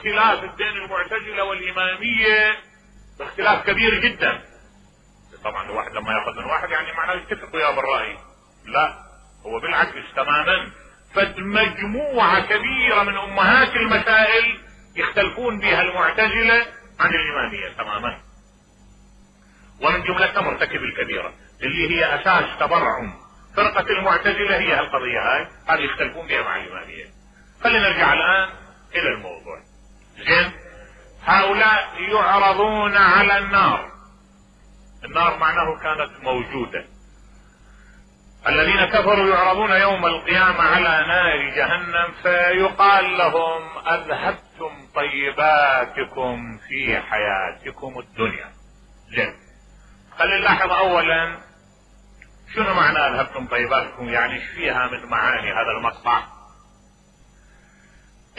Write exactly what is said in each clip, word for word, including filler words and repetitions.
اختلاف بين المعتزلة والإمامية اختلاف كبير جدا. طبعا الواحد لما ياخذ من واحد يعني معناه يتفق وياه بالرأي، لا، هو بالعكس تماما. فمجموعة كبيرة من أمهات المسائل يختلفون بها المعتزلة عن الإمامية تماما، ومن جملتها مرتكب الكبيرة اللي هي أساس تبرعم فرقة المعتزلة هي القضية هاي، هذه يختلفون بها مع الإمامية. خلينا نرجع الآن إلى الموضوع. زين، هؤلاء يعرضون على النار. النار معناه كانت موجودة. الذين كفروا يعرضون يوم القيامة على نار جهنم فيقال لهم أذهبتم طيباتكم في حياتكم الدنيا. زين، خلينا نلاحظ أولا شنو معنى أذهبتم طيباتكم، يعني ايش فيها من معاني هذا المقطع.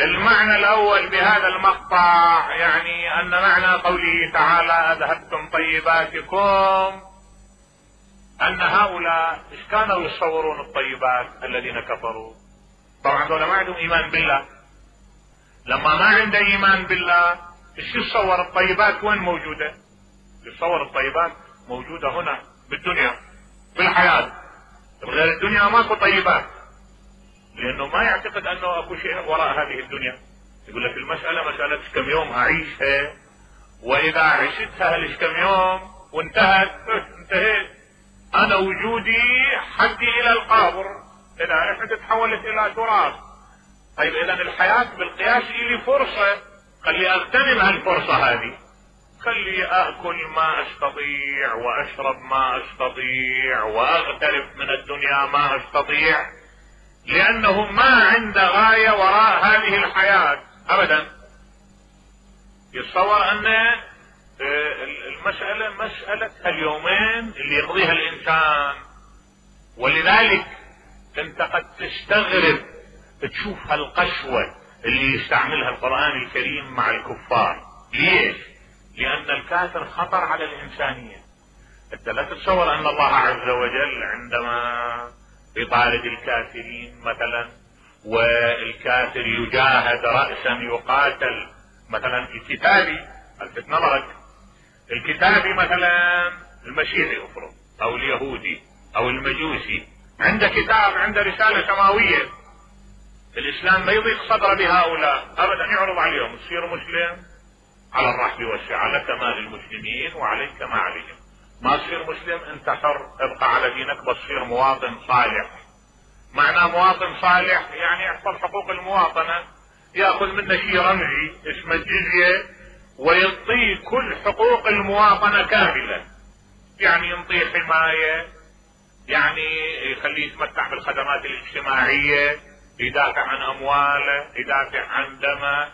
المعنى الأول بهذا المقطع يعني أن معنى قوله تعالى أذهبتم طيباتكم أن هؤلاء إيش كانوا يصورون الطيبات الذين كفروا. طبعا دول ما عندهم إيمان بالله. لما ما عنده إيمان بالله إيش يصور الطيبات؟ وين موجودة؟ يصور الطيبات موجودة هنا بالدنيا بالحياة، غير الدنيا ماكو طيبات، لأنه ما يعتقد أنه أكو شيء وراء هذه الدنيا. يقول لك المسألة مسألة كم يوم أعيشها، وإذا عشتها ليش كم يوم وانتهت انتهيت، أنا وجودي حدي إلى القبر، إذا رحت تحولت إلى تراب. طيب إذا الحياة بالقياس إلي فرصة، خلي أغتنم هالفرصة هذه، خلي أكل ما أستطيع وأشرب ما أستطيع وأغترف من الدنيا ما أستطيع، لأنه ما عنده غاية وراء هذه الحياة أبدا. يتصور أن المسألة مسألة اليومين اللي يقضيها الإنسان، ولذلك أنت قد تستغرب تشوف هالقسوة اللي يستعملها القرآن الكريم مع الكفار. ليش؟ لأن الكافر خطر على الإنسانية. أنت لا تتصور أن الله عز وجل عندما يطارد الكافرين مثلا والكافر يجاهد رأسا يقاتل، مثلا الكتابي الفت نظرك، الكتابي مثلا المسيحي افرض او اليهودي او المجوسي عنده كتاب عنده رسالة سماوية، الاسلام ما يضيق صدره بهؤلاء ابدا، يعرض عليهم تصير مسلم على الرحب والسعة، لك ما للمسلمين وعليك ما عليهم. ما تصير مسلم انت حر، ابقى على دينك، بس تصير مواطن صالح. معنى مواطن صالح يعني يحفظ حقوق المواطنة، ياخذ منه شيء رمزي اسمه الجزية ويعطيه كل حقوق المواطنة كاملة، يعني ينطيه حماية، يعني يخليه يتمتع بالخدمات الاجتماعية، يدافع عن امواله، يدافع عن دمه،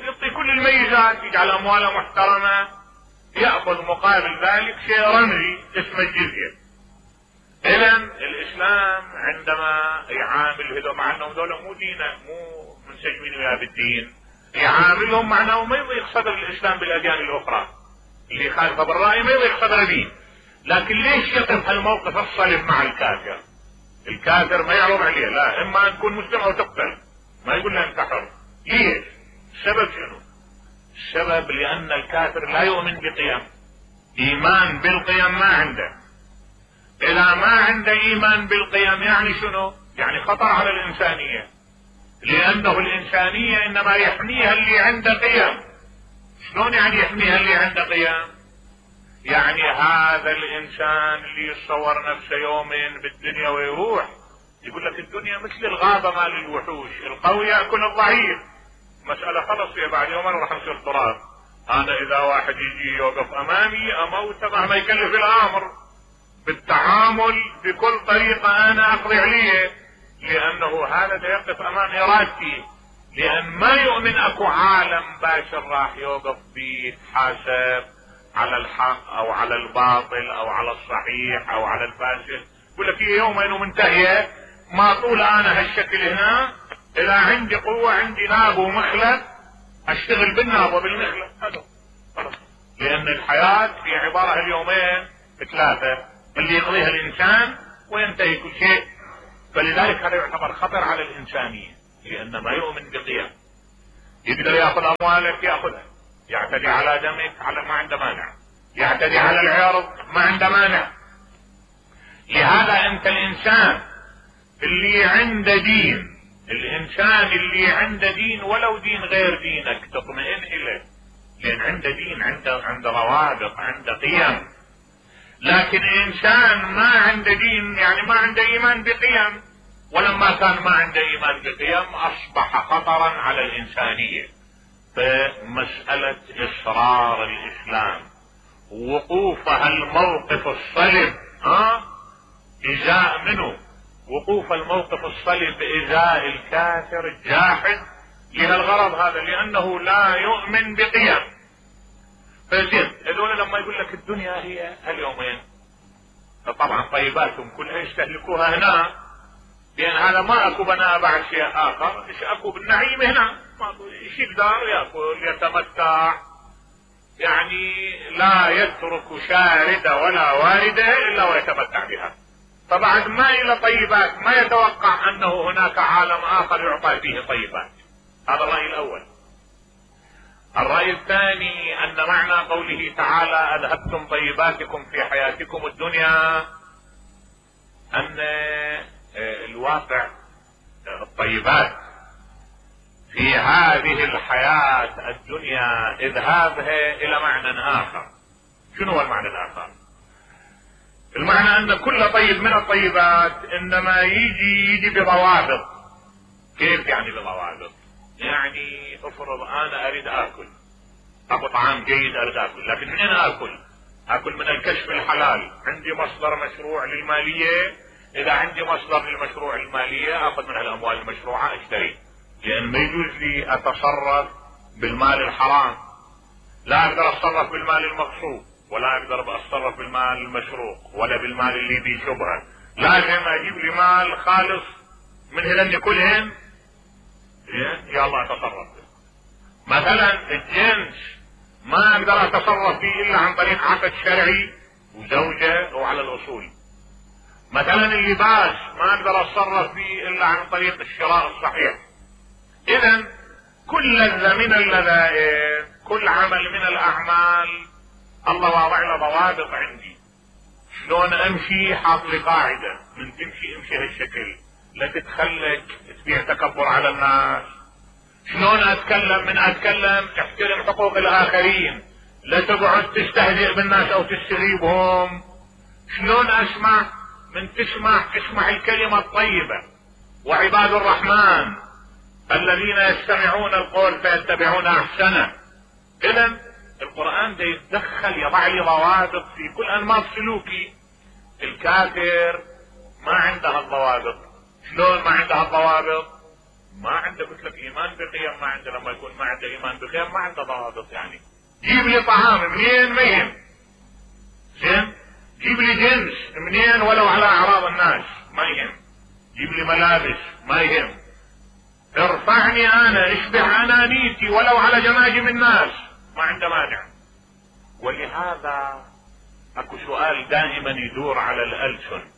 يعطي كل الميزات، يجعل امواله محترمة، يأخذ مقابل ذلك شيء رمزي اسمه الجزية. اذا الاسلام عندما يعامل هذول، مع انهم دول مو دينه مو منسجمين وياه بالدين، يعاملهم معناه ما يضيق صدر الاسلام بالاديان الاخرى، اللي خالفه بالرأي ما يضيق صدر دين. لكن ليش يقف هالموقف الصلب مع الكافر؟ الكافر ما يعرض عليه، لا اما ان تكون مسلم او تقتل، ما يقول له انت حر. ليش؟ السبب شنو؟ السبب لان الكافر لا يؤمن بقيم، ايمان بالقيم ما عنده. اذا ما عنده ايمان بالقيم يعني شنو؟ يعني خطر على الانسانية، لانه الانسانية انما يحميها اللي عنده قيم. شلون يعني يحميها اللي عنده قيم؟ يعني هذا الانسان اللي يتصور نفسه يومين بالدنيا ويروح، يقول لك الدنيا مثل الغابة مال الوحوش، القوي يأكل الضعيف، مسألة خلص يا بعد يومين راح نصير تراب. انا اذا واحد يجي يوقف امامي اموته مهما يكلف الامر، بالتعامل بكل طريقة انا اقضي عليه، لانه هذا دا يقف امام ارادتي، لان ما يؤمن اكو عالم باشر راح يوقف بيه يتحاسب على الحق او على الباطل او على الصحيح او على الفاسد. يقول لك هي يومين ومنتهية، ما طول انا هالشكل هنا، اذا عندي قوة عندي ناب ومخلب اشتغل بالناب وبالمخلب هذا خلاص. لان الحياة في عبارة اليومين ثلاثة اللي يقضيها الانسان وينتهي كل شيء. فلذلك هذا يعتبر خطر على الانسانية، لان ما يؤمن بقيم. يقدر ياخذ اموالك ياخذها، يعتدي على دمك على ما عنده مانع، يعتدي على العرض ما عنده مانع. لهذا انت الانسان اللي عنده دين، الانسان اللي عنده دين ولو دين غير دينك تطمئن اليه، لان عنده دين، عنده عنده روابط، عنده قيم. لكن انسان ما عنده دين يعني ما عنده ايمان بقيم، ولما كان ما عنده ايمان بقيم اصبح خطرا على الانسانية. فمسألة اصرار الاسلام وقوفها الموقف الصلب ها ازاء منه، وقوف الموقف الصلب ازاء الكافر الجاحد لهالغرض هذا، لانه لا يؤمن بقيم. فزين هذول لما يقول لك الدنيا هي هاليومين، طبعا طيباتهم كلها يستهلكوها هنا، لان هذا ما اكو بناء بعد شيء اخر، ايش اكو بالنعيم هنا، ايش يقدر ياكل يتمتع، يعني لا يترك شاردة ولا واردة الا ويتمتع بها. فبعد ما الى طيبات ما يتوقع انه هناك عالم اخر يعطى فيه طيبات. هذا الرأي الاول. الرأي الثاني ان معنى قوله تعالى اذهبتم طيباتكم في حياتكم الدنيا ان الواقع الطيبات في هذه الحياة الدنيا اذهابها الى معنى اخر. شنو هو المعنى الاخر؟ المعنى ان كل طيب من الطيبات انما يجي يجي بضوابط. كيف يعني بضوابط؟ يعني افرض انا اريد اكل، ابو طعام جيد اريد اكل، لكن منين اكل؟ اكل من الكشف الحلال، عندي مصدر مشروع للمالية، اذا عندي مصدر للمشروع المالية اخذ من الاموال المشروعة اشتري، لان ما يجوز لي اتصرف بالمال الحرام، لا اقدر اتصرف بالمال المغصوب، ولا اقدر اتصرف بالمال المشروق، ولا بالمال اللي بيه شبهة. لازم اجيب لي مال خالص من هذن كلهن يا الله اتصرف. مثلا الجنس ما اقدر اتصرف فيه الا عن طريق عقد شرعي وزوجة وعلى الاصول. مثلا اللباس ما اقدر اتصرف فيه الا عن طريق الشراء الصحيح. اذا كل من اللذائذ، كل عمل من الاعمال الله واضع له ضوابط عندي. شلون امشي؟ حاط لي قاعدة، من تمشي امشي هالشكل، لا تتخلق تبيع تكبر على الناس. شلون اتكلم؟ من اتكلم احترم حقوق الاخرين، لا تقعد تستهزئ بالناس او تستغيبهم. شلون اسمع؟ من تسمع تسمع الكلمة الطيبة. وعباد الرحمن الذين يستمعون القول فيتبعون احسنه. اذا القرآن ده يتدخل يضع لي ضوابط في كل انماط سلوكي. الكافر ما عنده الضوابط. شلون ما عنده الضوابط؟ ما عنده قلت لك ايمان بقيم، ما عنده. لما يكون ما عنده ايمان بقيم ما عنده ضوابط. يعني جيب لي طعام منين ما يهم، زين، جيب لي جنس منين ولو على اعراض الناس ما يهم، جيب لي ملابس ما يهم، ارفعني انا، اشبع انانيتي ولو على جماجم الناس ما عنده مانع. ولهذا اكو سؤال دائما يدور على الالسن.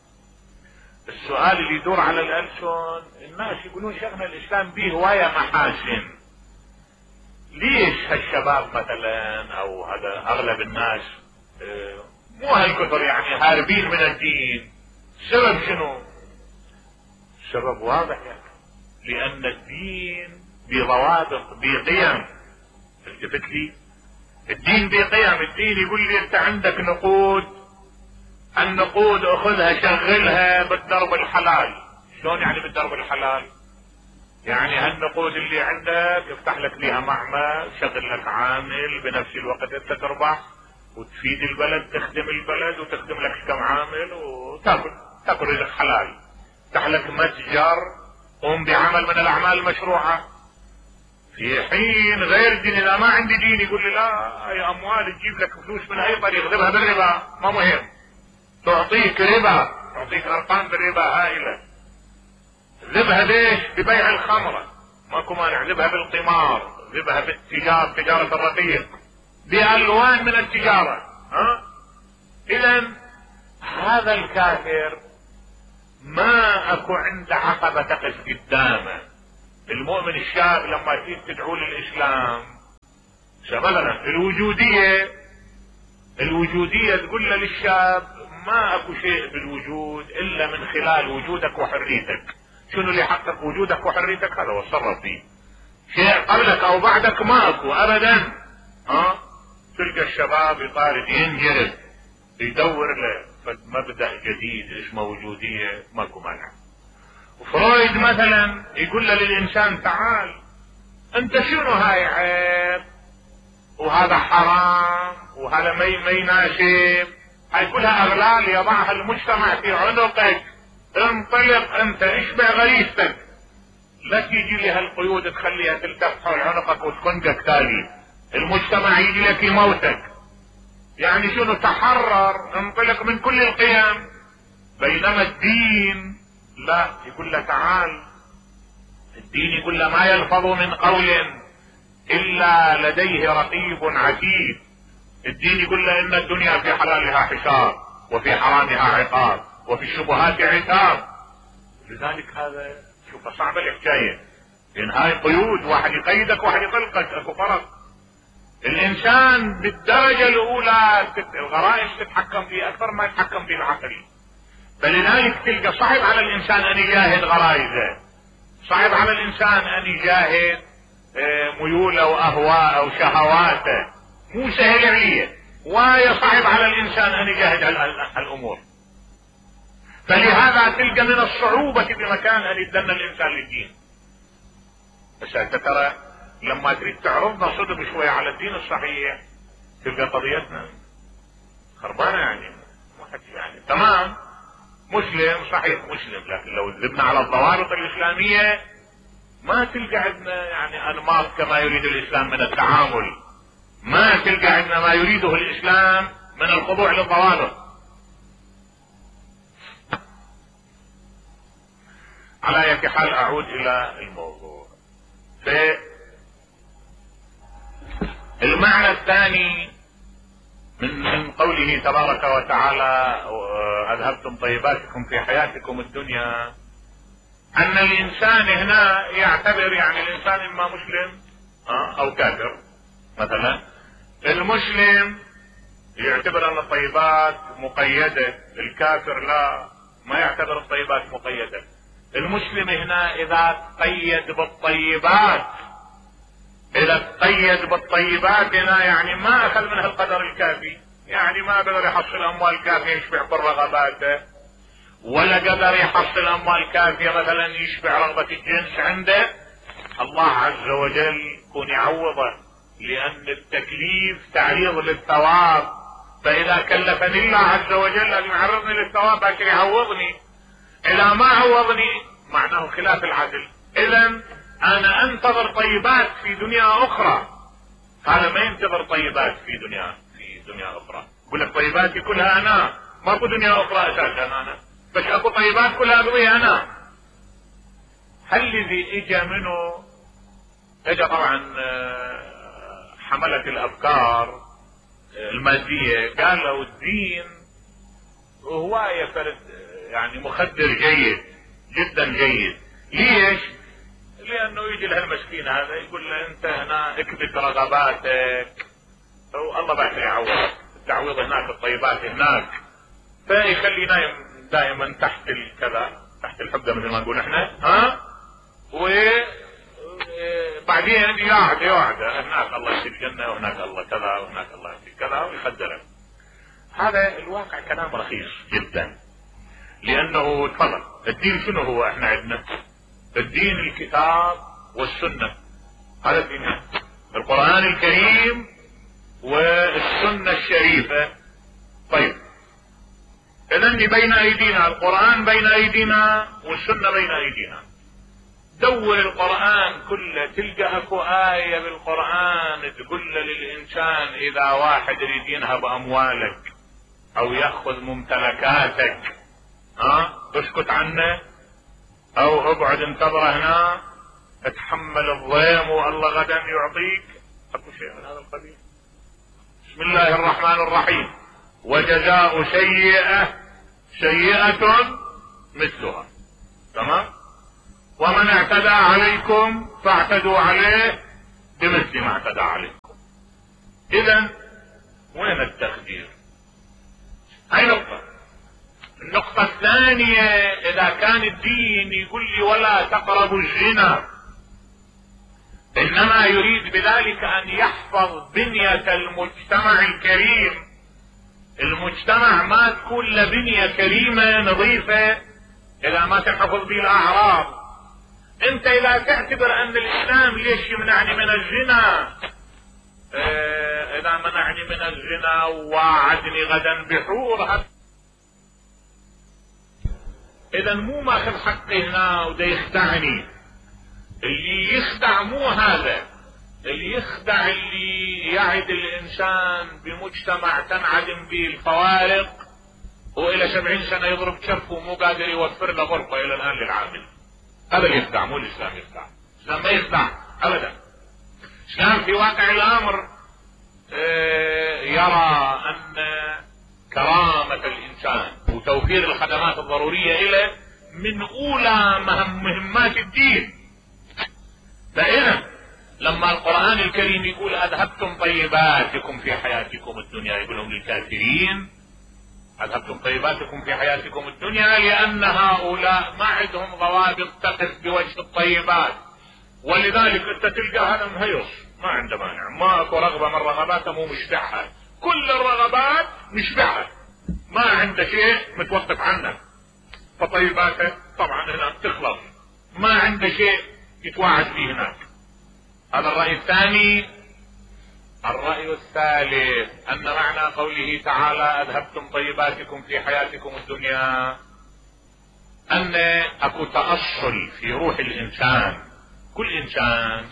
السؤال اللي يدور على الالسن، الناس يقولون شيخنا الاسلام به هواية محاسن، ليش هالشباب مثلا او هذا اغلب الناس اه مو هالكثر يعني هاربين من الدين؟ السبب شنو؟ السبب واضح يعني، لان الدين بضوابط بقيم. التفت لي، الدين بقيم. الدين يقول لي انت عندك نقود، النقود اخذها شغلها بالدرب الحلال. شلون يعني بالدرب الحلال؟ يعني هالنقود اللي عندك افتح لك لها معمل، شغل لك عامل، بنفس الوقت انت تربح وتفيد البلد، تخدم البلد وتخدم لك كم عامل وتاكل تاكل رزق حلال. افتح لك متجر، قوم بعمل من الاعمال المشروعة. في حين غير دين، اذا ما عندي دين يقول لي لا، هي اموال تجيب لك فلوس من اي طريق، اذهبها بالربا ما مهم، تعطيك ربا، تعطيك ارقام بالربا هائلة. ذبها ليش؟ ببيع الخمرة ماكو مانع، ذبها بالقمار، ذبها بالتجارة، تجارة الرقيق، بألوان من التجارة. ها؟ اذا هذا الكافر ما اكو عنده عقبة تقف قدامه المؤمن الشاب لما تيجي تدعو للاسلام، مثلا الوجودية الوجودية تقول له للشاب ما اكو شيء بالوجود الا من خلال وجودك وحريتك. شنو اللي حقق وجودك وحريتك؟ هذا وتصرف فيه. شيء قبلك او بعدك ما اكو ابدا. ها تلقى الشباب يطارد ينجرد يدور له مبدأ جديد اسمه وجودية، ماكو مانع. وفرويد مثلا يقول له للانسان تعال انت شنو هاي عيب وهذا حرام وهذا ما ما يناسب، هاي كلها اغلال يضعها المجتمع في عنقك، انطلق انت اشبع غريزتك، لا تيجي لي هالقيود تخليها تلتف حول عنقك وتخنقك تالي، المجتمع يجي لك يموتك. يعني شنو؟ تحرر، انطلق من كل القيم. بينما الدين لا، يقول له تعال، الدين يقول له ما يلفظ من قول الا لديه رقيب عتيد. الدين يقول له ان الدنيا في حلالها حساب وفي حرامها عقاب وفي الشبهات عتاب. لذلك هذا شوف صعبة الحكاية، لان هاي قيود، واحد يقيدك واحد يطلقك، اكو فرق. الانسان بالدرجة الاولى الغرائز تتحكم فيه اكثر ما يتحكم فيه العقل، فلذلك تلقى صعب على الانسان ان يجاهد غرائزه، صعب على الانسان ان يجاهد ميوله واهواءه وشهواته، مو سهل عليه، ويصعب على الانسان ان يجاهد الامور. فلهذا تلقى من الصعوبة بمكان ان يتدنى الانسان للدين. بس انت ترى لما تريد تعرضنا صدق شوية على الدين الصحيح تلقى قضيتنا خربانة. يعني واحد يعني تمام مسلم صحيح مسلم، لكن لو ذبنا على الضوابط الاسلامية ما تلقى عندنا يعني انماط كما يريد الاسلام من التعامل، ما تلقى عندنا ما يريده الاسلام من الخضوع للضوابط. على اي حال اعود الى الموضوع. المعنى الثاني من من قوله تبارك وتعالى اذهبتم طيباتكم في حياتكم الدنيا، ان الانسان هنا يعتبر يعني الانسان اما مسلم او كافر. مثلا المسلم يعتبر ان الطيبات مقيدة، الكافر لا، ما يعتبر الطيبات مقيدة. المسلم هنا اذا قيد بالطيبات، اذا قيد بالطيبات هنا يعني ما اخذ منها القدر الكافي، يعني ما قدر يحصل اموال كافية يشبع كل رغباته، ولا قدر يحصل اموال كافية مثلا يشبع رغبة الجنس عنده، الله عز وجل يكون يعوضه، لان التكليف تعريض للثواب، فاذا كلفني الله عز وجل ان يعرضني للثواب عشان يعوضني، اذا ما عوضني معناه خلاف العدل. اذا انا انتظر طيبات في دنيا اخرى، هذا ما ينتظر طيبات في دنيا في دنيا اخرى. يقول لك طيباتي كلها انا، ماكو دنيا اخرى اساسا انا، بس اكو طيبات كلها اقضيها انا. هل الذي اجى منه اجى طبعا حملة الافكار المادية قالوا الدين هواية فرد يعني مخدر جيد جدا جيد. ليش؟ لانه يجي له المسكين هذا يقول له انت هنا اكبت رغباتك والله بعد يعوضك، التعويض هناك، الطيبات هناك، فيخلي نايم دائما تحت الكذا، تحت الحبة مثل ما نقول احنا، ها، وبعدين يقعد يقعد هناك الله يجزيك الجنة وهناك الله كذا وهناك الله يجزيك كذا ويخدرك. هذا الواقع كلام رخيص جدا، لانه تفضل الدين شنو هو؟ احنا عندنا الدين الكتاب والسنة، هذا الدين، القرآن الكريم والسنة الشريفة. طيب اذا بين ايدينا القرآن، بين ايدينا والسنة بين ايدينا. دور القرآن كله تلقى اكو آية بالقرآن تقول للانسان اذا واحد يريد ينهب اموالك او ياخذ ممتلكاتك ها اسكت عنه، او اقعد انتظره هنا اتحمل الضيم والله غدا يعطيك، اكو شيء من هذا القبيل. بسم الله الرحمن الرحيم، وجزاء سيئة سيئة مثلها. تمام؟ ومن اعتدى عليكم فاعتدوا عليه بمثل ما اعتدى عليكم. اذا وين التقدير؟ هاي نقطة. النقطة الثانية، اذا كان الدين يقول لي ولا تقربوا الزنا، انما يريد بذلك ان يحفظ بنية المجتمع الكريم، المجتمع ما تكون لبنية كريمة نظيفة اذا ما تحفظ به الاعراض. انت اذا تعتبر ان الاسلام ليش يمنعني من الزنا، اه اذا منعني من الزنا ووعدني غدا بحور، اذا مو ماخذ حقي هنا وده يخدعني. اللي يخدع مو هذا، اللي يخدع اللي يعد الانسان بمجتمع تنعدم به الفوارق، والى سبعين سنة يضرب كفه ومو قادر يوفر له غرفة الى الان للعامل. هذا اللي يخدع، مو الاسلام يخدع. الاسلام ما يخدع ابدا. الاسلام في واقع الامر يرى ان كرامة الانسان وتوفير الخدمات الضرورية له من اولى مهم مهمات الدين. فاذا لما القرآن الكريم يقول اذهبتم طيباتكم في حياتكم الدنيا، يقولهم للكافرين اذهبتم طيباتكم في حياتكم الدنيا، لان هؤلاء ما عندهم ضوابط تقف بوجه الطيبات. ولذلك انت تلقى هذا مهيص ما عنده مانع، ما اكو رغبة من رغباته مو مشبعها، كل الرغبات مشبعها، ما عنده شيء متوقف عنه، فطيباته طبعا هناك تخلص، ما عنده شيء يتواعد فيه هناك. هذا الرأي الثاني. الرأي الثالث ان معنى قوله تعالى اذهبتم طيباتكم في حياتكم الدنيا ان اكو تأصل في روح الانسان. كل انسان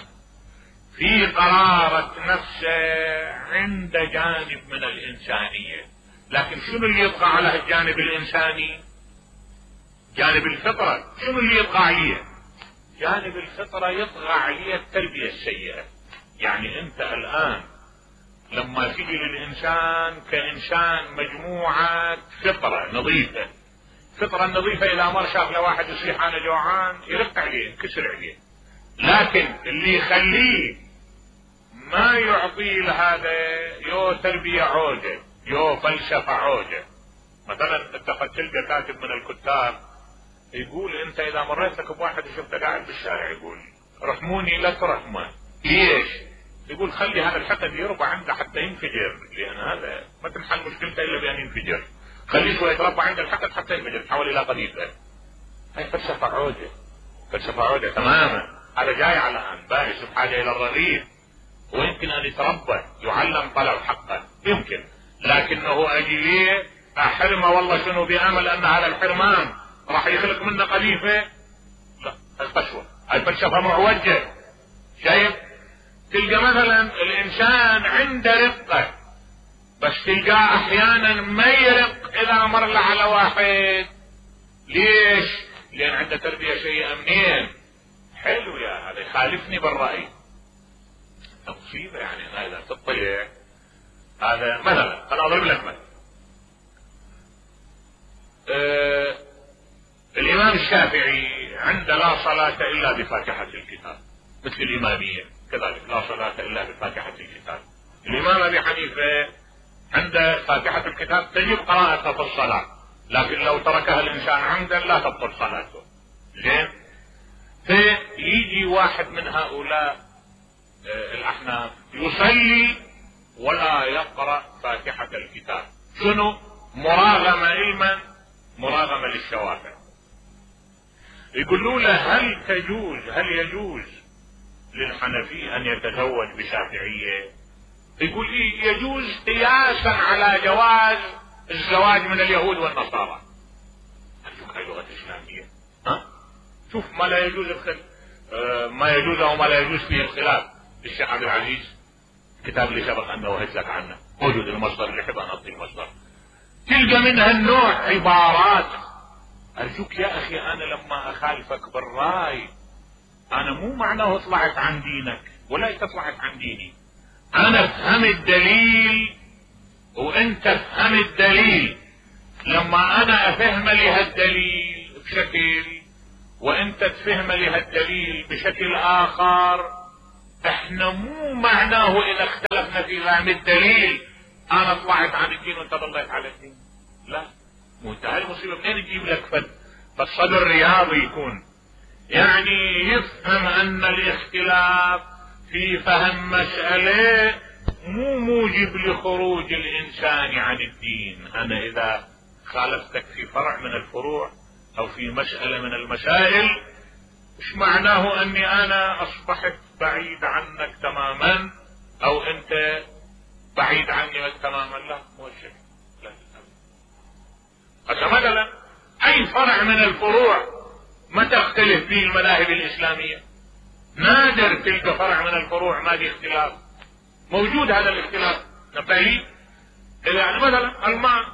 في قرارة نفسه عند جانب من الانسانية، لكن شنو اللي يطغى على الجانب الانساني؟ جانب الفطرة. شنو اللي يطغى عليه؟ جانب الفطرة يطغى عليه التربية السيئة. يعني انت الان لما تيجي للانسان كانسان مجموعة فطرة نظيفة، فطرة النظيفة اذا مر شاف لواحد يصيح انا جوعان يرق عليه ينكسر عليه، لكن اللي يخليه ما يعطي لهذا يو تربية عوجة يو فلسفة عوجة. مثلا انت قد تلقى كاتب من الكتاب يقول انت اذا مريت لك بواحد وشفته قاعد بالشارع يقول رحموني لا ترحمه، ليش؟ يقول خلي هذا الحقد يربى عنده حتى ينفجر، لان هذا ما تنحل مشكلته الا بان ينفجر. خليه شوي يتربى عنده الحقد حتى ينفجر، تحول الى قذيفه. هاي فلسفه عوجه، فلسفه عوجه تماما. هذا جاي على ان بائس بحاجه الى الرغيف، ويمكن ان يتربى يعلم طلب حقه يمكن، لكنه اجي ليه احرمه والله شنو بامل ان هذا الحرمان راح يخلق منه قذيفه؟ لا، القسوه هاي فلسفه معوجه. شايف؟ تلقى مثلا الانسان عنده رقه، بس تلقاه احيانا ما يرق اذا مر له على واحد. ليش؟ لان عنده تربيه سيئه. منين؟ حلو يا هذا يخالفني بالراي، مصيبه. يعني هذا تطلع هذا مثلا. انا اضرب لك مثل أه الامام الشافعي عنده لا صلاه الا بفاتحه الكتاب، مثل الاماميه كذلك لا صلاه الا بفاتحه الكتاب. الامام ابي حنيفه عنده فاتحه الكتاب تجب قراءتها في الصلاه، لكن لو تركها الانسان عمدا لا تبطل صلاته. زين؟ فيجي واحد من هؤلاء الاحناف يصلي ولا يقرأ فاتحة الكتاب. شنو؟ مراغمة علما، مراغمة للشوافع. يقولوا له هل تجوز هل يجوز للحنفي ان يتزوج بشافعية؟ يقول إيه يجوز قياسا على جواز الزواج من اليهود والنصارى. هاي لغة اسلامية. ها؟ شوف ما لا يجوز الخل... آه ما يجوز او ما لا يجوز فيه الخلاف. الشيخ عبد العزيز كتاب اللي سبق ان نوهت لك عنه موجود المصدر اللي حب ان اعطي المصدر. تلقى منها النوع عبارات. ارجوك يا اخي انا لما اخالفك بالراي انا مو معناه طلعت عن دينك ولا طلعت عن ديني، انا افهم الدليل وانت افهم الدليل. لما انا افهم لي هالدليل بشكل وانت تفهم لها الدليل بشكل اخر، احنا مو معناه اذا اختلفنا في فهم الدليل انا طلعت عن الدين وانت ضليت على الدين. لا، مو انت هاي المصيبه منين تجيب لك فد فالصدر رياضي يكون يعني يفهم ان الاختلاف في فهم مسألة مو موجب لخروج الانسان عن الدين. انا اذا خالفتك في فرع من الفروع او في مسألة من المسائل مش معناه اني انا اصبحت بعيد عنك تماما او انت بعيد عني تماما. لا، مو الشيء. لا، مثلا اي فرع من الفروع ما تختلف فيه المذاهب الاسلامية، نادر تلك فرع من الفروع ما في اختلاف، موجود هذا الاختلاف. نبالي يعني مثلا الماء،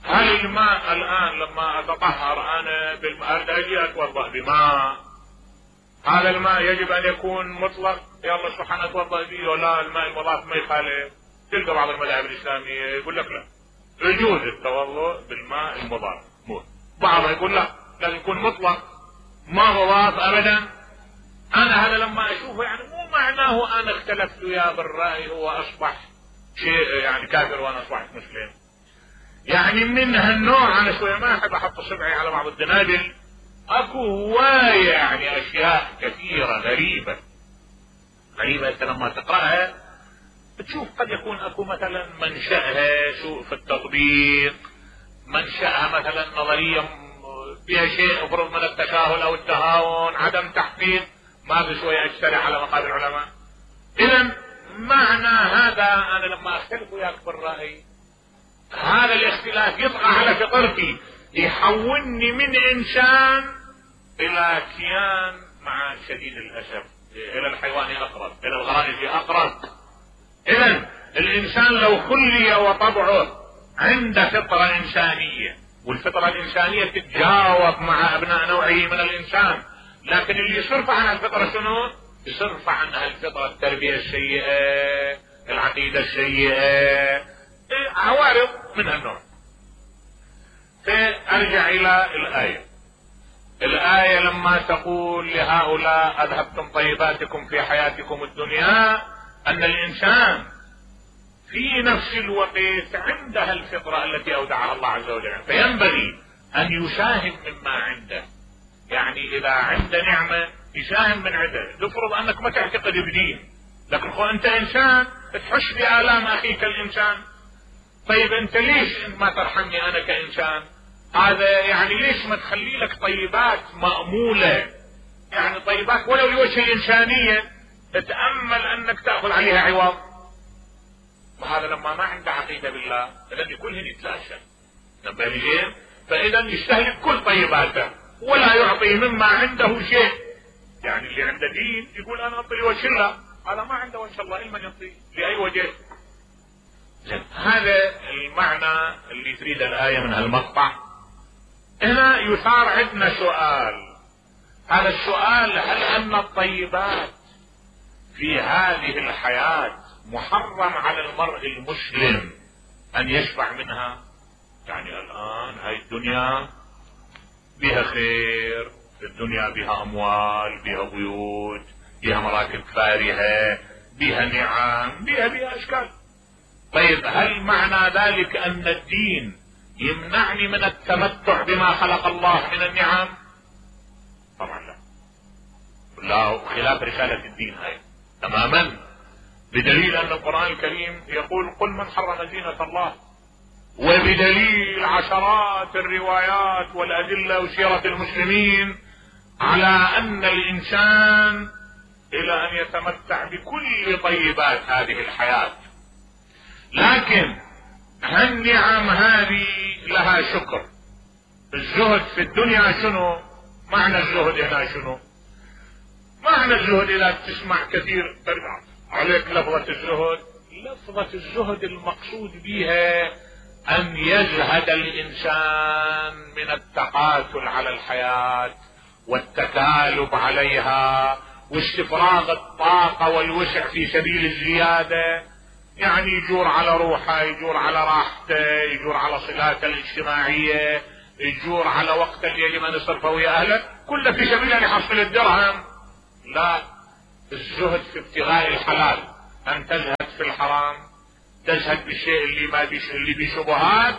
هل الماء الان لما اتطهر انا بالماء اجي اتوضا بماء، هذا الماء يجب ان يكون مطلق يلا سبحان اتوضا به ولا الماء المضاف ما يخالف؟ تلقى بعض المذاهب الاسلاميه يقول لك لا يجوز التوضا بالماء المضاف، بعضها يقول لا لازم يكون مطلق ما مضاف ابدا. انا هذا لما اشوفه يعني مو معناه انا اختلفت وياه بالراي هو اصبح شيء يعني كافر وانا اصبحت مسلم. يعني من هالنوع انا شويه ما احب احط صبعي على بعض الدنادل، اكو هوايه يعني اشياء كثيره غريبه غريبه انت لما تقراها بتشوف قد يكون اكو مثلا منشأها سوء في التطبيق، منشأها مثلا نظريه فيها شيء افرض من التساهل او التهاون، عدم تحقيق، ما بشويه اجترح على مقابل العلماء. اذا معنى هذا انا لما اختلف وياك بالراي هذا الاختلاف يطغى على فطرتي، يحولني من انسان الى كيان مع شديد الاسف الى الحيوان اقرب، الى الغرائز اقرب. اذا الانسان لو خلي وطبعه عند فطرة انسانية، والفطرة الانسانية تتجاوب مع ابناء نوعه من الانسان، لكن اللي يصرف عنها الفطرة شنو؟ يصرف عنها الفطرة التربية السيئة، العقيدة السيئة، عوارض من هالنوع. فارجع الى الاية. الاية لما تقول لهؤلاء اذهبتم طيباتكم في حياتكم الدنيا، ان الانسان في نفس الوقت عندها الفطرة التي اودعها الله عز وجل، فينبغي ان يساهم مما عنده. يعني اذا عنده نعمة يساهم من عنده. تفرض انك ما تعتقد بدين، لكن خو انت انسان تحش بآلام اخيك الانسان، طيب انت ليش ما ترحمني انا كانسان؟ هذا يعني ليش ما تخلي لك طيبات مأمولة، يعني طيبات ولو لوجه الانسانية تتأمل انك تأخذ عليها عوض. وهذا لما ما عنده عقيدة بالله الذي كلهن يتلاشى. نبالي فاذا يستهلك كل طيباته ولا يعطي مما عنده شيء. يعني اللي عنده دين يقول انا اعطي وجه الله، هذا ما عنده وجه الله الا من يعطي لاي وجه. هذا المعنى اللي تريد الآية من هالمقطع. هنا يثار عندنا سؤال، هذا السؤال هل ان الطيبات في هذه الحياة محرم على المرء المسلم ان يشبع منها؟ يعني الان هاي الدنيا بها خير، الدنيا بها اموال، بها بيوت، بها مراكب فارهة، بها نعم، بها بها اشكال. طيب هل معنى ذلك ان الدين يمنعني من التمتع بما خلق الله من النعم؟ طبعا لا، لا، خلاف رسالة الدين هاي تماما، بدليل ان القرآن الكريم يقول قل من حرم زينة الله، وبدليل عشرات الروايات والادلة وسيرة المسلمين على ان الانسان الى ان يتمتع بكل طيبات هذه الحياة. لكن هالنعم هذه لها شكر. الزهد في الدنيا شنو؟ معنى الزهد هنا شنو؟ معنى الزهد اذا تسمع كثير ترجع عليك لفظة الزهد، لفظة الزهد المقصود بها ان يزهد الانسان من التقاتل على الحياة والتكالب عليها واستفراغ الطاقة والوسع في سبيل الزيادة. يعني يجور على روحه، يجور على راحته، يجور على صلاته الاجتماعية، يجور على وقت اللي يجب ان يصرفه ويا اهله، كله في سبيل ان يحصل الدرهم. لا، الزهد في ابتغاء الحلال، ان تزهد في الحرام، تزهد بالشيء اللي ما بيش اللي بشبهات،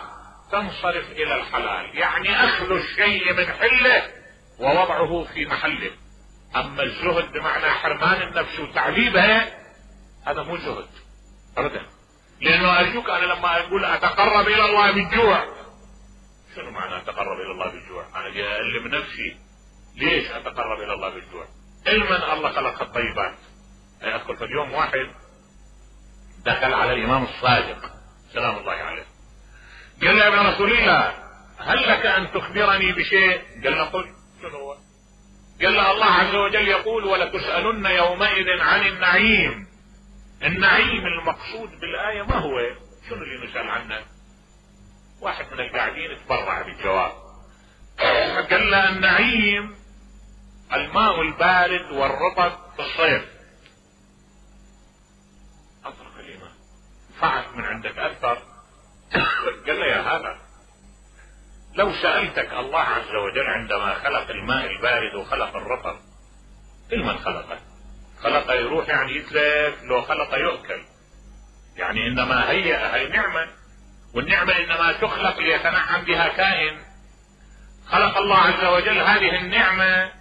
تنصرف الى الحلال، يعني اخذ الشيء من حله ووضعه في محله. اما الزهد بمعنى حرمان النفس وتعذيبها، هذا مو زهد ابدا. لانه ارجوك انا لما اقول اتقرب الى الله بالجوع، شنو معنى اتقرب الى الله بالجوع؟ انا جاي األم نفسي، ليش اتقرب الى الله بالجوع؟ علما الله خلق الطيبات. اذكر في اليوم واحد دخل على الامام الصادق سلام الله عليه، قال له يا ابن رسول الله هل لك ان تخبرني بشيء؟ قال له قل. شنو هو؟ قال له الله عز وجل يقول ولتسألن يومئذ عن النعيم. النعيم المقصود بالآية ما هو؟ شنو اللي نسأل عنه؟ واحد من القاعدين تبرع بالجواب، قال له النعيم الماء البارد والرطب في الصيف. اطرق الإمام فعل من عندك اكثر. قال له يا هذا لو سألتك الله عز وجل عندما خلق الماء البارد وخلق الرطب لمن خلقه؟ خلق يروح يعني يتلف، لو خلق يؤكل، يعني انما هي هي نعمة، والنعمة انما تخلق ليتنعم بها كائن. خلق الله عز وجل هذه النعمة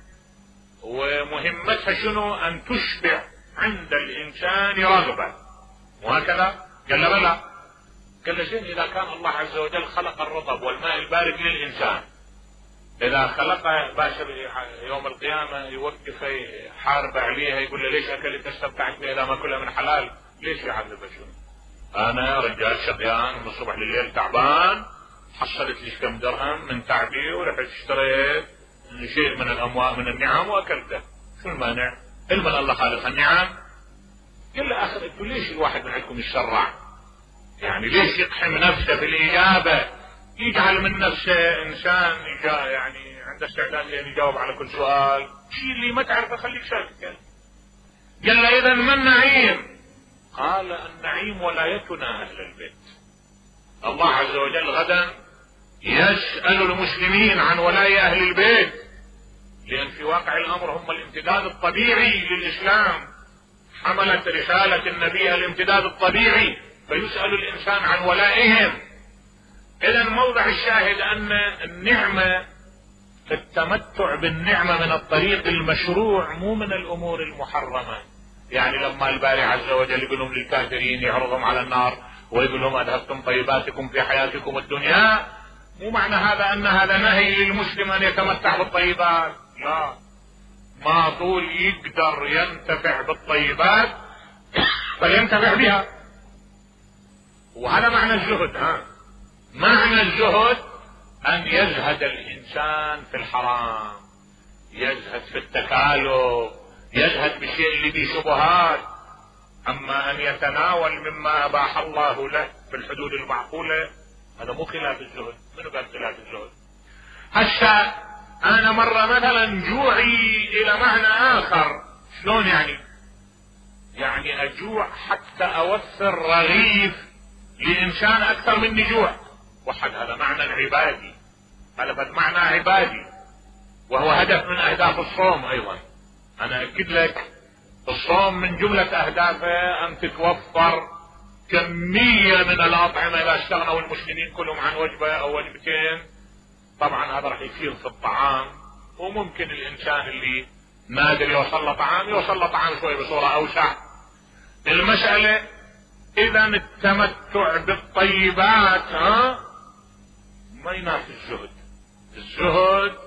ومهمتها شنو؟ ان تشبع عند الانسان رغبة، وهكذا. قال له بلى. قال له زين اذا كان الله عز وجل خلق الرطب والماء البارد للانسان، اذا خلقه باشر يوم القيامة يوقف حارب عليها يقول له ليش اكلت استمتعت بها اذا ما كلها من حلال؟ ليش يعذبه؟ شنو؟ انا رجال شقيان من الصبح لليل تعبان، حصلت لي كم درهم من تعبي ورحت اشتريت شيء من الاموال من النعم واكلته، شو المانع؟ علما الله خالق النعم. قال له اخر انتوا ليش الواحد من عندكم يتشرع؟ يعني ليش يقحم نفسه في الاجابه؟ يجعل من نفسه انسان يعني عنده استعداد ان يجاوب على كل سؤال، شيء اللي ما تعرفه خليك ساكت. قال له اذا ما النعيم؟ قال النعيم ولايتنا اهل البيت. الله عز وجل غدا يسأل المسلمين عن ولاية اهل البيت، لان في واقع الامر هم الامتداد الطبيعي للاسلام، حملت رسالة النبي الامتداد الطبيعي، فيسأل الانسان عن ولائهم. اذا موضع الشاهد ان النعمة، التمتع بالنعمة من الطريق المشروع مو من الامور المحرمة. يعني لما الباري عز وجل يقول لهم للكافرين يعرضهم على النار ويقول لهم اذهبتم طيباتكم في حياتكم الدنيا، مو معنى هذا ان هذا نهي للمسلم ان يتمتع بالطيبات، لا، ما طول يقدر ينتفع بالطيبات فلينتفع بها. وهذا معنى الزهد. ها معنى الزهد ان يزهد الانسان في الحرام، يزهد في التكالب، يزهد بالشيء اللي فيه شبهات. اما ان يتناول مما اباح الله له في الحدود المعقولة، هذا مو خلاف الزهد. منو قال خلاف الزهد؟ هسه انا مرة مثلا جوعي الى معنى اخر. شلون يعني؟ يعني اجوع حتى اوفر رغيف لانسان اكثر مني جوع، وحد هذا معنى عبادي، هذا بد معنى عبادي، وهو هدف من اهداف الصوم ايضا. انا اكد لك الصوم من جملة اهدافه ان تتوفر كمية من الاطعمة اذا استغنوا المسلمين كلهم عن وجبة او وجبتين. طبعا هذا راح يصير في الطعام، وممكن الانسان اللي نادر يوصل له طعام يوصل له طعام شوي بصورة اوسع. المسألة اذا التمتع بالطيبات ها ما ينافي الزهد. الزهد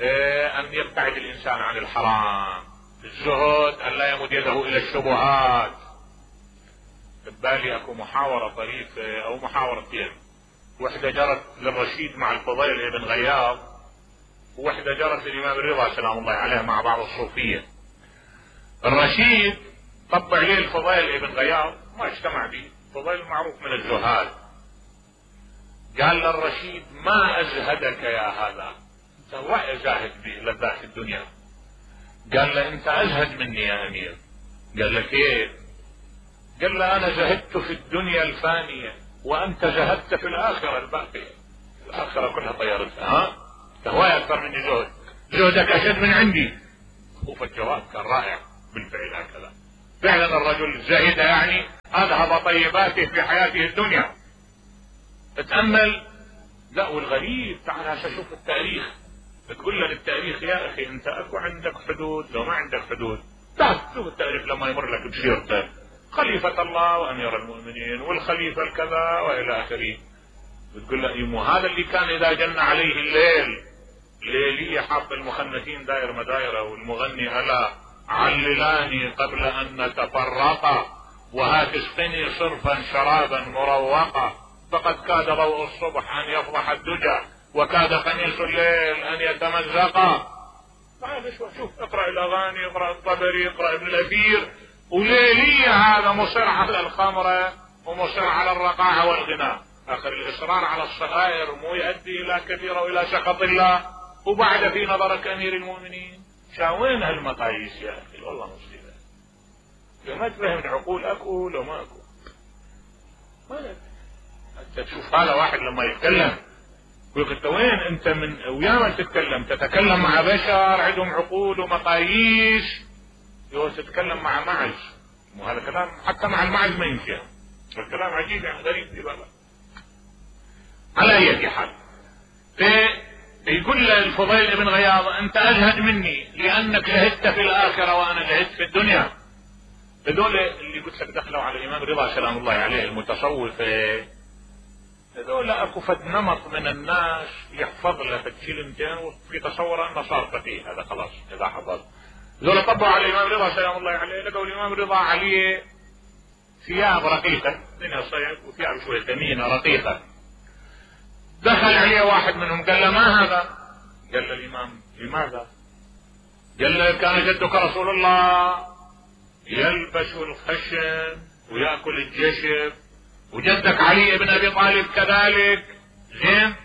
اه ان يبتعد الانسان عن الحرام، الزهد ان لا يمد يده الى الشبهات. ببالي اكو محاورة طريفة او محاورتين، وحدة جرت للرشيد مع الفضيل ابن غياض، ووحدة جرت للامام الرضا سلام الله عليه مع بعض الصوفية. الرشيد طبع ليه الفضيل ابن غياض، ما اجتمع به، فضيل معروف من الزهاد. قال للرشيد ما ازهدك يا هذا، انت وعي زاهد بلذات الدنيا. قال له انت ازهد مني يا امير. قال له كيف؟ قال له انا زهدت في الدنيا الفانية وانت زهدت في الاخرة الباقية. الاخره كلها طيرتها. ها هواي اكثر مني جهد، جهدك اشد من عندي. فالجواب كان رائع بالفعل هكذا. فعلا الرجل زهد يعني اذهب طيباته في حياته الدنيا. اتأمل. لا والغريب تعال هسه شوف التاريخ، تقول لك التاريخ يا اخي انت اكو عندك حدود لو ما عندك حدود. لا شوف التاريخ لما يمر لك بسيرته خليفة الله وامير المؤمنين والخليفة الكذا والى اخره، بتقول له يمو هذا اللي كان اذا جن عليه الليل ليلية حاط المخنثين داير مدايره والمغني الا عللاني قبل ان نتفرقا وهات اسقني صرفا شرابا مروقا فقد كاد ضوء الصبح ان يفضح الدجى وكاد قميص الليل ان يتمزقا. هذا شوف شوف اقرا الاغاني، اقرا الطبري، اقرا ابن الاثير، وليلية هذا مصر على الخمره ومصر على الرقاعه والغناء. اخر الاصرار على الصغائر مو يؤدي الى كثير والى سخط الله. وبعد في نظرك امير المؤمنين شاوين هالمقاييس يا اخي والله مصيبه. لو ما تفهم العقول اكو لو ما اكو ما انت تشوف هذا واحد لما يتكلم يقول انت وين انت من ويا من تتكلم؟ تتكلم مع بشر عندهم عقول ومقاييس، يقول تتكلم مع معز. وهذا كلام حتى مع المعز ما يمشي، الكلام عجيب يعني غريب في بالك. على اي حال يقول الفضيل بن غياض انت اجهد مني لانك جهدت في الاخره وانا جهدت في الدنيا. هذول اللي قلت لك دخلوا على الامام رضا سلام الله عليه المتصوفه، هذول اكو فد نمط من الناس يحفظ له فد كلمتين وفي تصور انه صار فقيه، هذا خلاص اذا حفظ. هذول طبعوا على الامام رضا سلام الله عليه، لقوا الامام رضا عليه ثياب رقيقه منها صيف وثياب شويه ثمينه رقيقه. دخل عليه واحد منهم قال له ما هذا؟ قال له الامام لماذا؟ قال له كان جدك رسول الله يلبس الخشن ويأكل الجشب وجدك علي بن ابي طالب كذلك. زين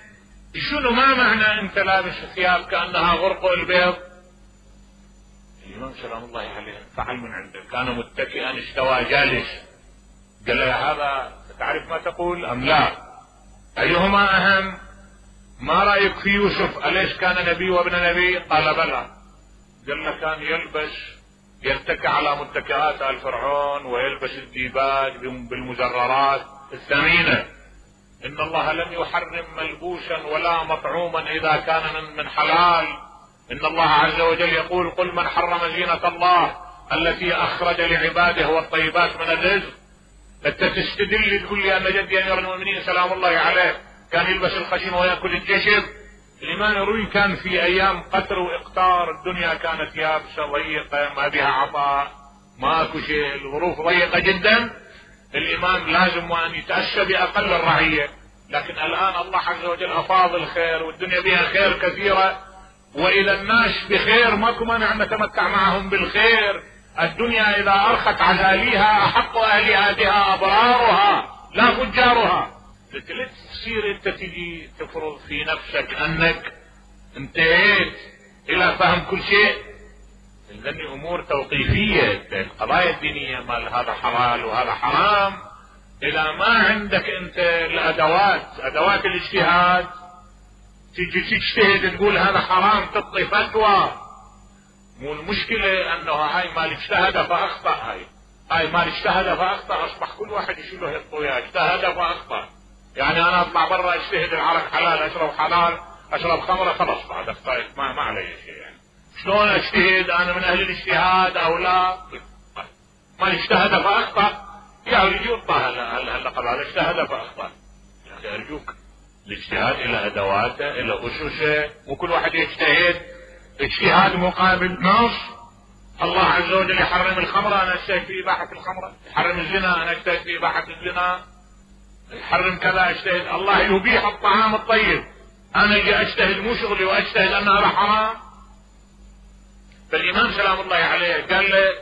شنو ما معنى انت لابس ثياب كأنها غرق البيض؟ الامام سلام الله عليه فعل من عنده، كان متكئا استوى جالس. قال له هذا تعرف ما تقول ام لا؟ ايهما اهم؟ ما رايك في يوسف اليس كان نبي وابن نبي؟ قال بلى. قال له كان يلبس يتكئ على متكئات ال فرعون ويلبس الديباج بالمجررات الثمينه. ان الله لم يحرم ملبوسا ولا مطعوما اذا كان من حلال. ان الله عز وجل يقول قل من حرم زينة الله التي اخرج لعباده والطيبات من الرزق. انت تستدل تقول لي ان جدي امير المؤمنين سلام الله عليه كان يلبس الخشن ويأكل الجشب؟ الامام يروي كان في ايام قتر واقتار الدنيا كانت يابسه ضيقه ما بها عطاء ماكو شيء، الظروف ضيقه جدا. الامام لازم ان يتأسى باقل الرعيه، لكن الان الله عز وجل افاض الخير والدنيا بها خير كثيره، واذا الناس بخير ماكو مانع ان نتمتع معهم بالخير. الدنيا اذا ارخت عزاليها احق اهلها بها ابرارها لا فجارها. لا تصير انت تجي تفرض في نفسك انك انتهيت الى فهم كل شيء. لان امور توقيفيه، القضايا الدينيه مال هذا حلال وهذا حرام. اذا ما عندك انت الادوات ادوات الاجتهاد تجي تجتهد تقول هذا حرام تعطي فتوى. مو المشكله انه هاي مال اجتهد فاخطا، هاي هاي مال اجتهد فاخطا اصبح كل واحد يشيل له الطوية اجتهد فاخطا. يعني انا اطلع برا اجتهد العرق حلال اشرب حلال اشرب خمره خلاص بعد اخطأت ما ما علي شيء. يعني شلون اجتهد انا من اهل الاجتهاد او لا؟ ما اجتهد فاخطا يا رجل يطلع اللقب هذا اجتهد فاخطا. يا اخي ارجوك الاجتهاد الى ادواته الى اسسه، وكل واحد يجتهد اجتهاد مقابل نص. الله عز وجل يحرم الخمره انا اجتهد في اباحه الخمره، يحرم الزنا انا اجتهد في اباحه الزنا، يحرم كذا اجتهد. الله يبيح الطعام الطيب انا اجي اجتهد مو شغلي واجتهد ان هذا حرام. فالامام سلام الله عليه قال له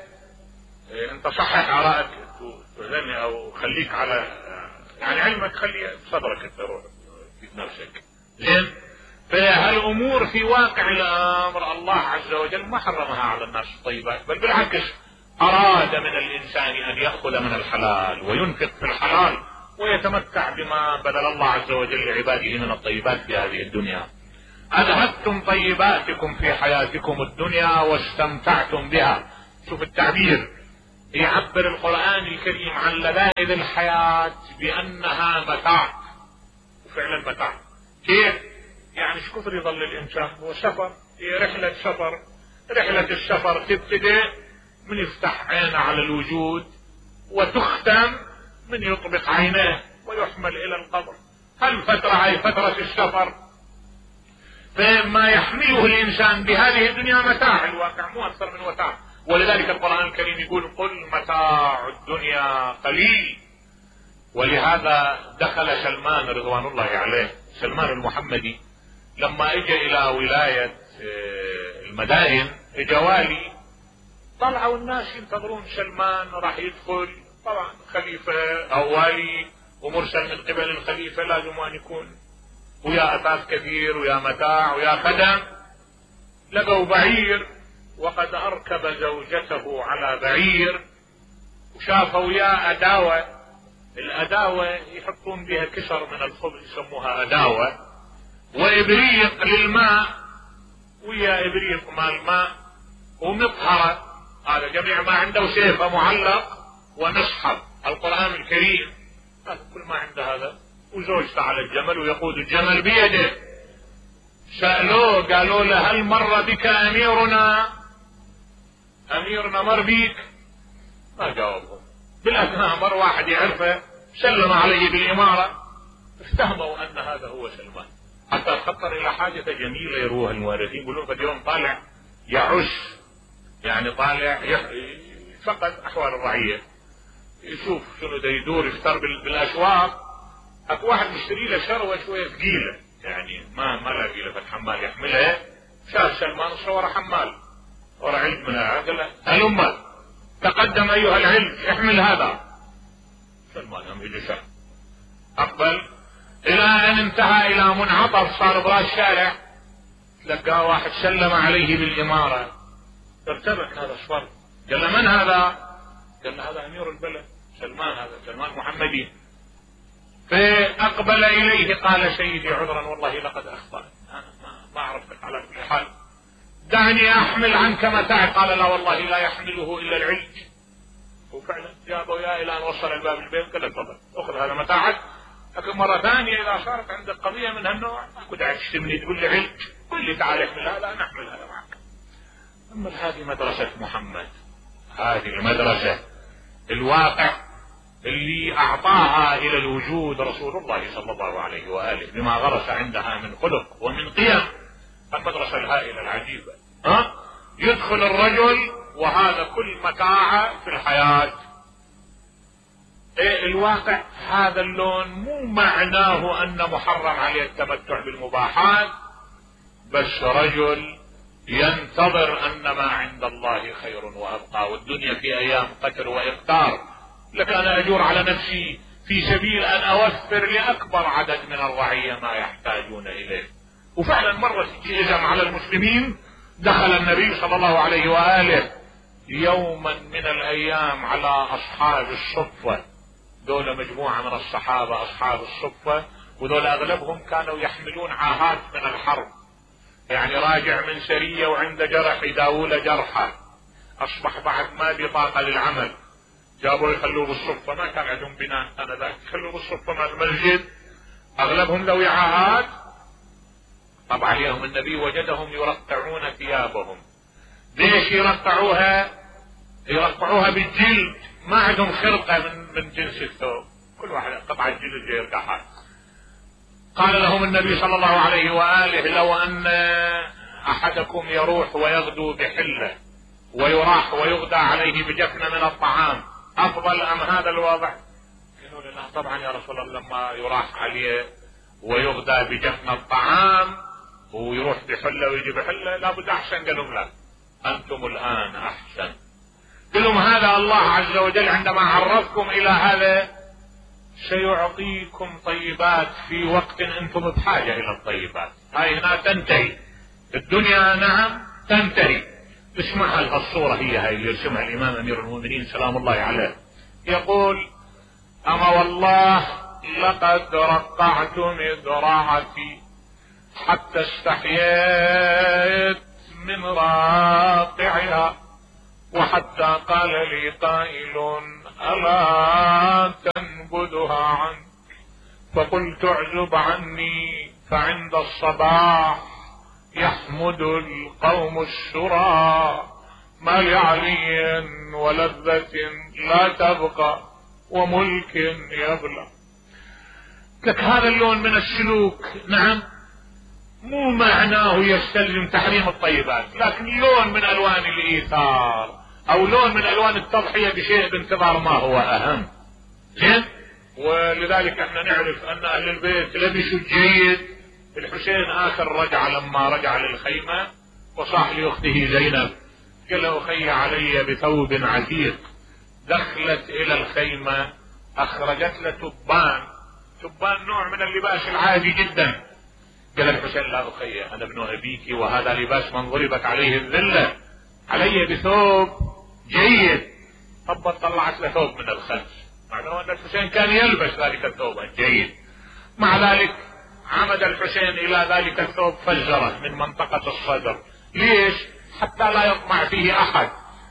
إيه انت صحح ارائك تؤذني او خليك على يعني علمك خلي صدرك انت روح في نفسك. زين فهالامور في واقع الامر الله عز وجل ما حرمها على الناس الطيبات، بل بالعكس اراد من الانسان ان ياخذ من الحلال وينفق في الحلال ويتمتع بما بذل الله عز وجل لعباده من الطيبات في هذه الدنيا. اذهبتم طيباتكم في حياتكم الدنيا واستمتعتم بها. شوف التعبير، يعبر القرآن الكريم عن لذائذ الحياة بأنها متاع، وفعلا متاع. كيف؟ يعني ايش كثر يظل الانسان هو سفر، هي رحلة سفر. رحلة السفر تبتدئ من يفتح عينه على الوجود وتختم من يطبق عينيه ويحمل الى القبر. هالفترة هي فترة السفر، فما يحمله الانسان بهذه الدنيا متاع الواقع، مو اكثر من متاع. ولذلك القرآن الكريم يقول قل متاع الدنيا قليل. ولهذا دخل سلمان رضوان الله عليه، سلمان المحمدي، لما اجى الى ولاية المدائن اجى والي، طلعوا الناس ينتظرون سلمان راح يدخل. طبعا خليفة او والي ومرسل من قبل الخليفة لازم ان يكون ويا اثاث كثير ويا متاع ويا خدم. لقوا بعير وقد اركب زوجته على بعير، وشافوا ويا اداوة. الاداوة يحطون بها كسر من الخبز يسموها اداوة، وابريق للماء ويا ابريق مال ماء، ومطهرة. هذا جميع ما عنده، سيفه معلق ومصحف القرآن الكريم، هذا كل ما عنده هذا. وزوجته على الجمل ويقود الجمل بيده. سألوه قالوا له هل مر بك اميرنا؟ اميرنا مر بيك؟ ما جاوبهم. بالاثناء مر واحد يعرفه سلم عليه بالامارة، افتهموا ان هذا هو سلمان. حتى خطر الى حاجة جميلة يروها المؤرخين، يقولون قد يوم طالع يعش، يعني طالع فقد احوال الرعية، يشوف شنو دا يدور، يفتر بالاسواق. اكو واحد مشتري له شروة شوية ثقيلة، يعني ما ما لاقي له حمال يحملها. شاف سلمان صور حمال ورا علج منها، قال له هلم تقدم ايها العلج احمل هذا. سلمان هم يجي اقبل الى ان انتهى الى منعطف صار براس الشارع، لقاه واحد سلم عليه بالامارة. ارتبك هذا الصفر، قال له من هذا؟ قال له هذا امير البلد سلمان، هذا سلمان محمدي. فاقبل اليه قال سيدي عذرا والله لقد اخطأت، انا ما اعرفك على كل حال، دعني احمل عنك متاعك. قال لا والله لا يحمله الا العلج. وفعلا جابه يا الى ان وصل الباب البيت، قال تفضل اخذ هذا متاعك. لكن مرة ثانية اذا صارت عندك قضية من هالنوع اكو داعي تشتمني تقول لي علج، قل لي تعال احمل هذا انا احمل هذا معك. اما هذه مدرسة محمد، هذه المدرسة الواقع اللي اعطاها الى الوجود رسول الله صلى الله عليه وآله بما غرس عندها من خلق ومن قيم. المدرسة الهائلة العجيبة. ها يدخل الرجل وهذا كل متاعه في الحياة. ايه الواقع هذا اللون مو معناه ان محرم عليه التمتع بالمباحات، بس رجل ينتظر ان ما عند الله خير وابقى، والدنيا في ايام قتر واقتار. لك انا اجور على نفسي في سبيل ان اوفر لاكبر عدد من الرعية ما يحتاجون اليه. وفعلا مرت جيزم على المسلمين، دخل النبي صلى الله عليه وآله يوما من الايام على اصحاب الصفة. دول مجموعة من الصحابة اصحاب الصفة، ودول اغلبهم كانوا يحملون عاهات من الحرب، يعني راجع من سرية وعنده جرح يداول جرحه، اصبح بعد ما بطاقة للعمل، جابوا يخلوه بالصفة. ما كان عندهم بناء انا ذاك، خلوه بالصفة مع المسجد. اغلبهم ذوي عاهات. طبعا عليهم النبي وجدهم يرقعون ثيابهم. ليش يرقعوها؟ يرقعوها بالجلد، ما عندهم خرقة من من جنس الثوب، كل واحد قطعة جلد يرقعها. قال لهم النبي صلى الله عليه وآله لو ان احدكم يروح ويغدو بحلة ويراح ويغدى عليه بجفنة من الطعام افضل ام هذا الوضع؟ قالوا لا طبعا يا رسول الله، لما يراح عليه ويغدى بجفنة الطعام ويروح بحلة ويجي بحلة لابد احسن. قالوا لا انتم الان احسن. قالوا هذا الله عز وجل عندما عرفكم الى هذا سيعطيكم طيبات في وقت انتم بحاجة الى الطيبات. هاي هنا تنتهي الدنيا، نعم تنتهي. اسمعها الصورة هي هاي اللي يرسمها الامام امير المؤمنين سلام الله عليه، يقول اما والله لقد رقعت مذرعتي حتى استحييت من راقعها، وحتى قال لي قائل ألا تنبذها عنك، فقلت اعزب عني، فعند الصباح يحمد القوم الشرى، ما لعلي ولذة لا تبقى وملك يبلى. لك هذا اللون من السلوك نعم مو معناه يستلزم تحريم الطيبات، لكن لون من الوان الايثار او لون من الوان التضحية بشيء بانتظار ما هو اهم. زين، ولذلك احنا نعرف ان اهل البيت لبسوا جيد. الحسين اخر رجع لما رجع للخيمة وصاح لاخته زينب قال له اخي علي بثوب عتيق. دخلت الى الخيمة اخرجت له تبان، تبان نوع من اللباس العادي جدا. قال الحسين لا اخي انا ابن ابيك وهذا لباس من ضربت عليه الذلة، علي بثوب جيد. طب طلعت له ثوب من الخلف، معناه ان الحسين كان يلبس ذلك الثوب الجيد. مع ذلك عمد الحسين الى ذلك الثوب فجره من منطقة الصدر. ليش؟ حتى لا يطمع فيه احد،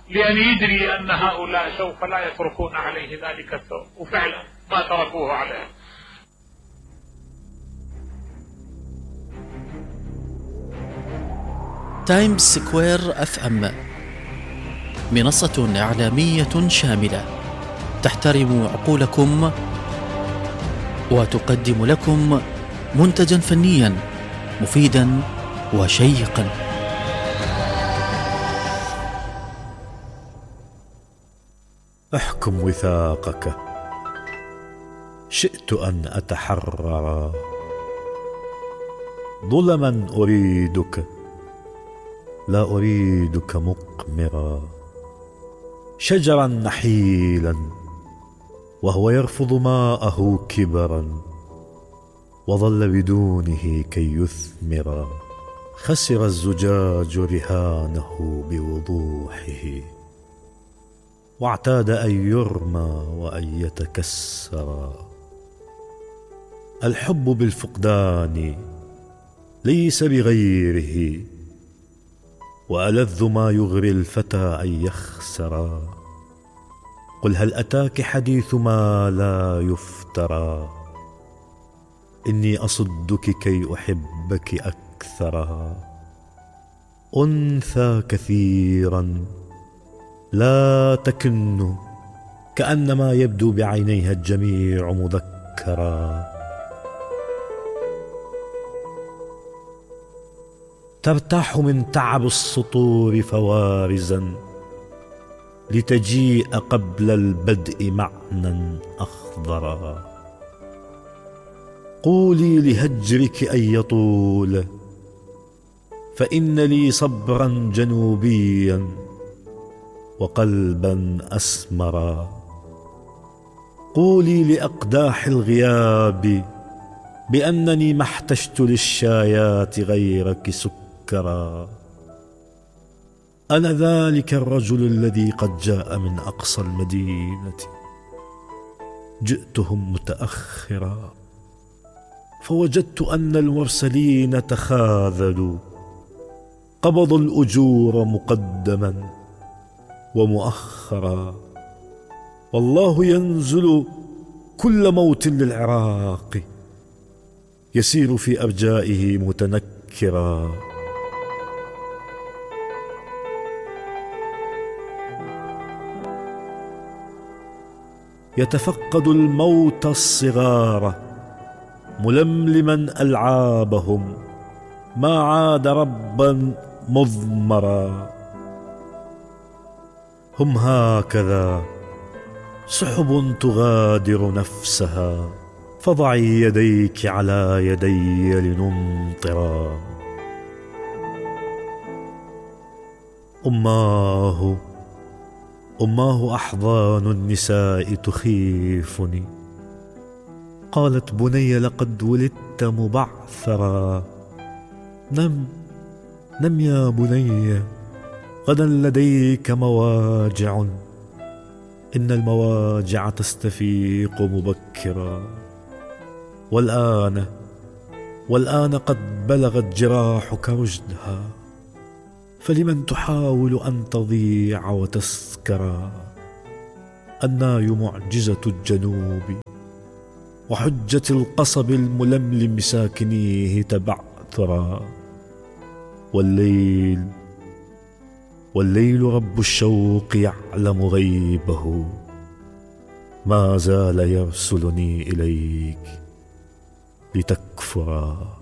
لان يدري ان هؤلاء سوف لا يتركون عليه ذلك الثوب، وفعلا ما تركوه عليه. تايمز سكوير اف ام منصة إعلامية شاملة تحترم عقولكم وتقدم لكم منتجا فنيا مفيدا وشيقا. احكم وثاقك، شئت أن أتحرر، ظلما أريدك لا أريدك مقمرا، شجرا نحيلا وهو يرفض ماءه كبرا، وظل بدونه كي يثمرا، خسر الزجاج رهانه بوضوحه، واعتاد أن يرمى وأن يتكسرا. الحب بالفقدان ليس بغيره، وألذ ما يغري الفتى أن يخسرا. قل هل أتاك حديث ما لا يفترى، إني أصدك كي أحبك أكثرا. أنثى كثيرا لا تكن، كأنما يبدو بعينيها الجميع مذكرا. ترتاح من تعب السطور فوارزا، لتجيء قبل البدء معنى أخضرا. قولي لهجرك أن يطول، فإن لي صبرا جنوبيا وقلبا أسمرا. قولي لأقداح الغياب بأنني ما احتجت للشايات غيرك سكرا. أنا ذلك الرجل الذي قد جاء من أقصى المدينة، جئتهم متأخرا، فوجدت أن المرسلين تخاذلوا، قبضوا الأجور مقدما ومؤخرا. والله ينزل كل موت للعراق، يسير في أرجائه متنكرا. يتفقد الموت الصغار ململما ألعابهم، ما عاد ربا مضمرا. هم هكذا سحب تغادر نفسها، فضعي يديك على يدي لنمطرا. أماه أماه أحضان النساء تخيفني، قالت بني لقد ولدت مبعثرا. نم نم يا بني، غدا لديك مواجع، إن المواجع تستفيق مبكرا. والآن والآن قد بلغت جراحك رشدها، فلمن تحاول أن تضيع وتسكرا؟ الناي معجزة الجنوب وحجة القصب الململم ساكنيه تبعثرا، والليل والليل رب الشوق يعلم غيبه، ما زال يرسلني إليك لتكفرا.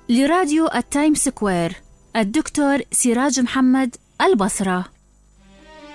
لراديو التايم سكوير، الدكتور سراج محمد، البصرة.